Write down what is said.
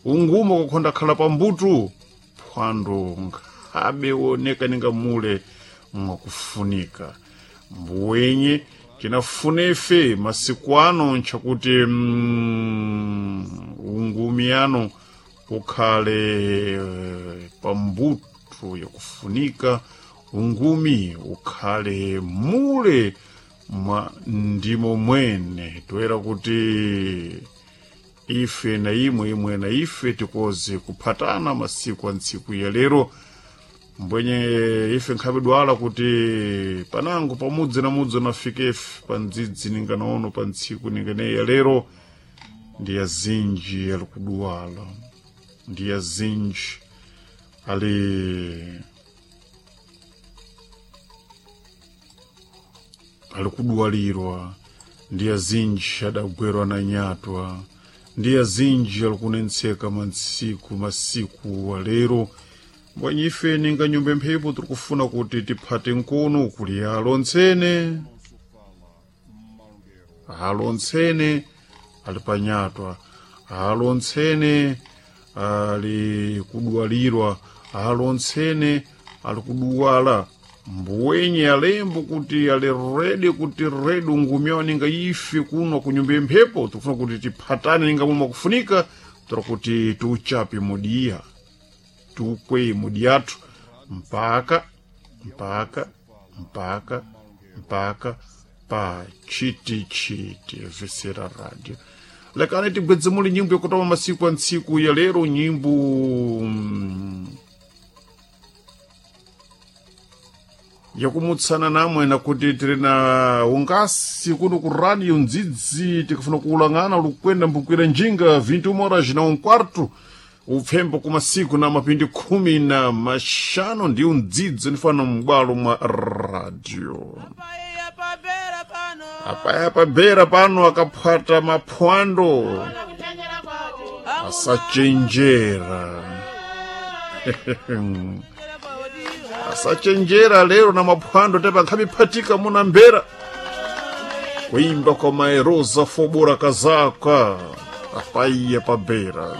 Ungumo kukhonda khala pambutu phwando nkhabe woneka ninga mule mwakufunika mbuwenye tinafunefe masiku ano nchakuti ungumi ano ukhale pambuto yakufunika, ungumi ukhale mule mwa ndimo mwene toera kuti ife na imwe, imwe na ife tikoze kuphatana masiku a ntsiku ya lero. Mbwenye ife nkhabe dwala kuti panango pamudzi na mudzi nafikefe pandzidzi ninganaono pa ntsiku ninganeyi ya lero, ndi azinji ali kuduwala, ndi azinji ali kuduwalirwa, ndi azinji adagwerwa na nyatwa, ndi azinji ali kunentseka mantsiku masiku alero. Mbwanyi ife ninga nyumba mphepo tiri kufuna kuti tiphate nkono kuli alontsene, alontsene ali panyatwa, alontsene ali kudwalirwa, alontsene ali kuduwala. Mbuwenye alembo kuti ali rede kuti rede ungumi ninga ife kuno kunyumba mphepo tikufuna kuti tiphatane ninga momwe kufunika tora kuti tiuchape mudiya, tukwe mudi yathu mpaka mpaka mpaka mpaka pa chitichiti vesera radio. Lekani tigwedze muli nyimbo yakutama masiku a ntsiku ya lero, nyimbo yakumutsana namwe nakuti tiri na ungasi kuno ku radio ndzidzi tikufuna kuulang'ana lukwenda mbukwira njinga 21 horas na um quarto upfembo kumasiku na mapindi 15 ndiyo ndzidzo nifana m'bwalo mwa radio. Apaya pabera pano akaphwata maphwando asachenjera, asachenjera lero na maphwando tepa nkhamiphatika muna mbera kuimba kwa maerosa fobora kazaka apaiya pabera.